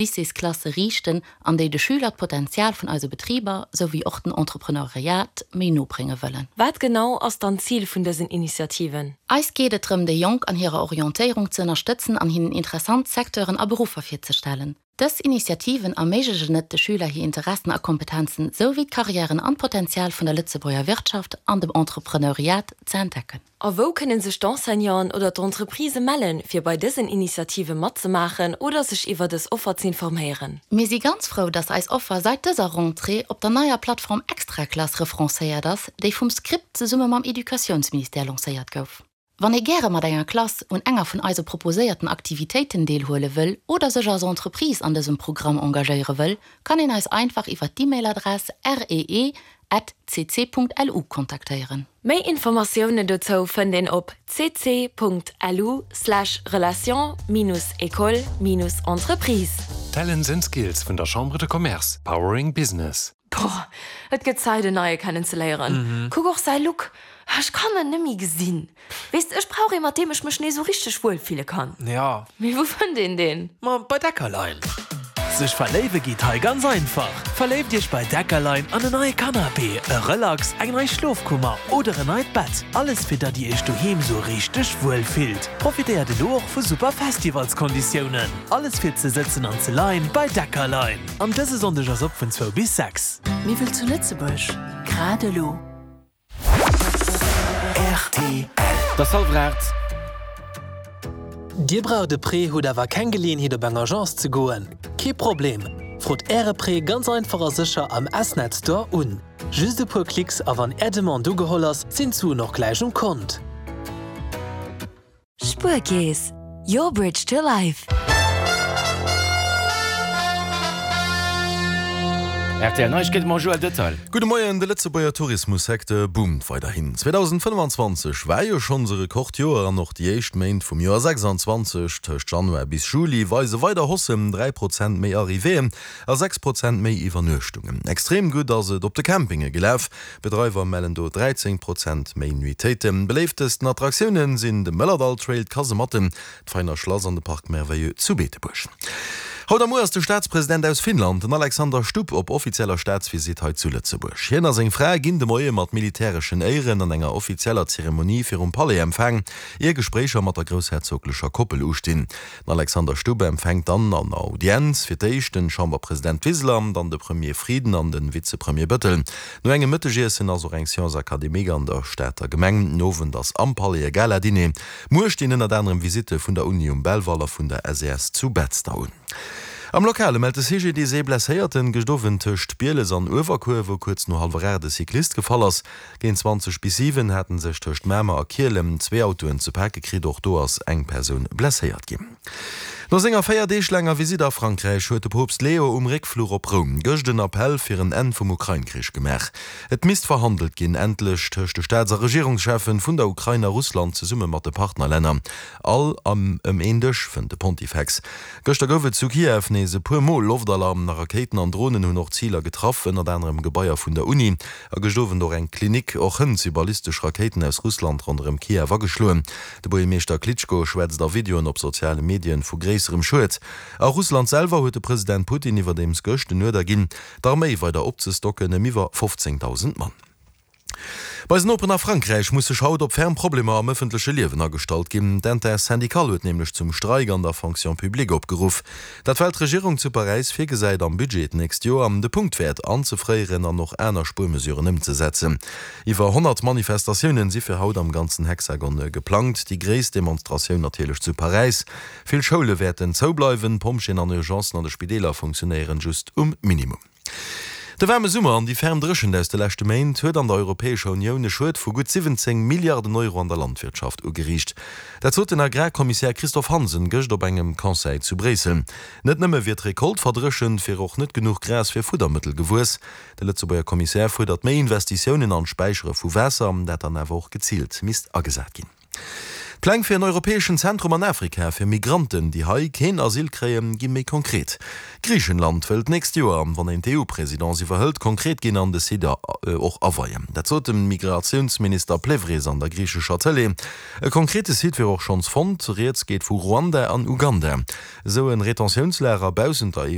Lycéesklasse riichten an déi de Schüler d'Potenzial vun eise Betriber souwéi och den Entrepreneuriat méi no brénge wëllen. Wat genau ass dann d'Zil vun dësen Initiativen? Eis geet et drëm, déi Jonk an hirer Orientéierung ze ënnerstëtzen an hinnen interessant Secteuren a Beruffer virzestellen. Dës Initiativen erméiglechen et de Schüler hir Interessen a Kompetenzen souwéi d'Karriären an d'Potenzial vun der Lëtzebuerger Wirtschaft an dem Entrepreneuriat ze entdecken. A wou kënne sech d'Enseignanten oder d'Entreprisë mellen, fir bei dësen Initiative matzemaachen oder sech iwwer dës Offer z'informéieren? Mir si ganz frou, dass eis Offer seit dëser Rentrée op der neier Plattform Extraklass referencéiert ass, déi vum Script zesumme mam Educatiounsministère lancéiert gouf. Wann ee gäre mat enger Klass un enger vun eise proposéierten Aktivitéiten deelhuele wëll oder sech als Entreprise an dësem Programm engagéiere wëll, kann een eis einfach iwwer d'E-Mail-Adress ree at cc.lu kontaktéieren. Méi Informatiounen dozou fënnt een op cc.lu/relation-école-entreprise. Talents and Skills vun der Chambre de Commerce, powering business. Boah, et gëtt Zäit en neie kennen ze léieren. Kuck och säi Look, ech kann en nemmi gesinn. Weess de, ech brauch ee mat deem ech mech nees sou richteg wuel fille kann. Ja. Mee wou fënnt een deen? Ma bei Deckerlein. Sech verléiwe geet hei ganz einfach! Verléift iech bei Deckerlein an en neie Canapé, e Relax, eng nei Schlofkummer oder en neit Bett. Alles fir datt dir iech doheem sou richteg wuel fillt. Profitéiert elo och vu super Festivalskonditiounen. Alles fir ze sëtzen an ze leien bei Deckerlein. An dëse Sonndeg ass op vun zwou bis 6. Miwwel zu Lëtzebuerg, grad elo. Rtl. Et ass hallwer 8. Dir braucht e Prêt, hutt awer keng Geleeënheet op eng Agence ze goen? Kee Problem! Frot Äre Prêt ganz einfach a sécher am S-Net Store un. Just e puer Klicks a wann Är Demande ugeholl ass, sinn d'Suen och gläich um Kont. Spuerkeess, your bridge to life. Rtl Neiegkeete mam Joël Detail. Gudde Moien, De Lëtzebuerger Tourismussecteur boomt weiderhin. 2025 war jo schonns e Rekordjoer an och déi éischt Méint vum Joer 26, tëscht Januar bis Juli, weise weider Haussen, 3 Prozent méi Arrivéeën a 6 Prozent méi Iwwernuechtungen. Extrem gutt ass et op de Campinge gelaf. Bedreiwer mellen do 13 Prozent méi Nuitéiten. Beléiftesten Attraktioune sinn de Mëllerdall Trail, d'Kasematten, d'Veiner Schlass an de Parc Merveilleux zu Beetebuerg. Haut a muer ass de Staatspresident aus Finnland, den Alexander Stubb, op offizieller Staatsvisitt hei zu Lëtzebuerg. Hien a seng Fra ginn de Moie mat militäreschen Éieren an enger offizieller Zeremonie virum Palais empfaang, ier Gespréicher mat der groussherzoglecher Koppel ustinn. Den Alexander Stubb empfänkt dann an Audienz fir d'éischt den Chamberpresident Wiseler, dann de Premier Frieden an den Vizepremier Bettel. No engem Mëttegiessen ass och eng Séance académique an der Stater Gemeng. Den Owend ass am Palais e Gala-Dîner. Muer stinn ënnert anerem Visitte vun der Uni um Belval a vun der SES zu Betzder un. Am Lokale mellt de CGDIS ee Blesséierten gëscht Owend tëscht Bieles an Uewerkuer, wou kuerz no hallwer 8 e Cyclist gefall ass. Géint 20 bis 7 haten sech tëscht Mamer a Kielem zwee Autoen ze pake kritt. Och do ass eng Persoun blesséiert ginn. No senger 4 Deeg laanger Visitt a Frankräich huet de Poopst Leo um Réckfluch op Roum gëscht en Appell fir en Enn vum Ukrain-Krich gemaach. Et misst verhandelt ginn, endlech tëscht de Staats a Regierungscheffen vun der Ukrain a Russland zesumme mat de Partnerlänner. All ëm een Dësch, fënnt de Pontifex. Gëschter gouf et zu Kiew nees e puer Mol Loftalarm. Rakéiten an Dronen hunn och Ziler getraff, ënnert anerem Gebaier vun der Uni. A gëscht Owend och eng Klinik. Och hënt si ballistesch Rakéiten aus Russland ronderëm Kiew ageschloen. De Buergermeeschter Klitschko schwätzt a Videoen op soziale Medien vu gréisserem Schued. A Russland selwer huet de President Putin iwwerdeems gëscht den Uerder ginn, d'Arméi weider opzestocken ëm iwwer 15.000 Mann. Bei eisen Noperen a Frankräich muss sech haut op ferm Problemer am ëffentleche Liewen agestallt ginn. D'Intersyndicale huet nämlech zum Streik an der Fonction publique opgeruff. Dat well d'Regierung zu Paräis virgesäit, am Budget d'nächst Joer de Punktwäert anzefréieren an och aner Spuermesuren ëmzesetzen. Iwwer 100 Manifestatiounen si fir haut am ganzen Hexagon geplangt, déi gréisst Demonstratioun natierlech zu Paräis. Vill Schoule wäerten zoubleiwen, d'Pompjeeën an Urgencen an de Spideeler funktionéieren just um Minimum. De waarme Summer an déi ferm Dréchent aus de leschte Méint huet an der Europäescher Unioun e Schued vu gutt 17 Milliarden Euro an der Landwirtschaft ugeriicht. Dat sot den Agrarkommissär Christophe Hansen gëscht op engem Conseil zu Bréissel. Net nëmme wier d'Recolte verdréchent, wier och net genuch Gras fir Fuddermëttel gewuess. De Lëtzebuerger Kommissär fuerdert méi Investitiounen an d'Späichere vu Waasser, dat dann awer och geziilt misst agesat ginn. D'Pläng fir en europäeschen Zentrum an Afrika fir Migranten, déi hei keen Asyl kréien, gi méi konkret. Griichenland wëll d'nächst Joer, wann een d'EU-Presidence iwwerhëlt, konkret ginn an de Site och aweien. Dat sot de Migratiounsminister Plevris an der griichescher Tëlee. E konkrete Site wier och schonns fonnt, Rieds geet vu Ruanda an Uganda. Esou en Retentiounslager baussent der EU.